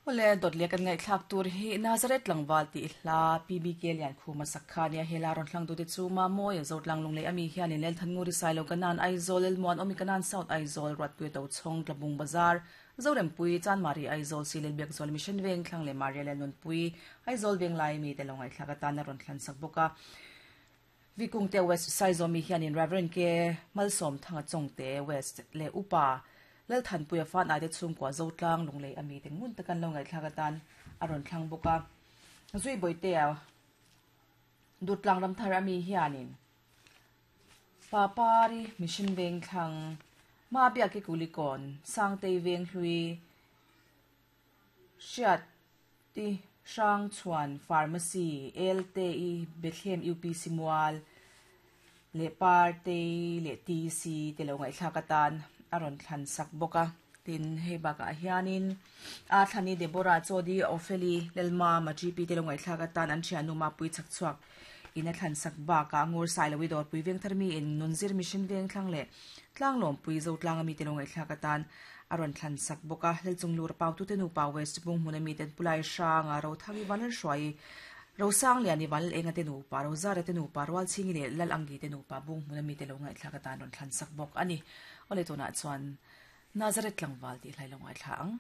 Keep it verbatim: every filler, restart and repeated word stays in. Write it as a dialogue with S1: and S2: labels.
S1: Ole dot le kan ngai thlak tur hi Nazareth tlangwal ti hla P B K lian khuma sakhania hela ron hlang tu te chu ma moi zotlang lungle ami hian in lel thanguri sailo kanan Aizawl el muan omi kanan South Aizawl rat pui to chhong tlabung bazar Zorem pui chan mari Aizawl silel bek zol Mission Veng thlang le Maria le nun pui Aizawl Veng lai mi te longai thlaka tan ron thlan sak boka Vikung te West Saizomi hian in Reverend ke Malsom thanga chongte West le upa lal than puia fan ate chung kwa zotlang lunglei ami te ngun takan lo ngai thlaka tan aron thlang boka zui boite a dutlang ram thar ami hianin papari Mission Veng thlang ma bia ki kulikon sangtei veng hlui hriat ti hrang chuan pharmacy L T I Bethlehem U P C mual le parte le T C te lo ngai thlaka tan aron thlan sak boka tin hei baka hianin a thlani Deborah Chodi Opheli Lelma ma G P te lo ngai thlaka tan an thianu ma pui chak chuak ina thlan sak ba ka ngur sai lowi dor pui veng tharmi in nunzir Mission Veng thlang le tlang lom pui zo tlang ami te lo ngai thlaka tan aron thlan sak boka lel chung lur pau tu te nu pa West bung mun ami ten pulai hranga ro thangi vanal hruai ro sang liani wal enga te nu pa ro zare te nu pa rwal chingi le lal angi te nu pa bung mun ami te lo ngai thlaka tan ron thlan sak bok ani ole tuna chuan Nazareth tlangwal ti hlai lo ngai thla ang.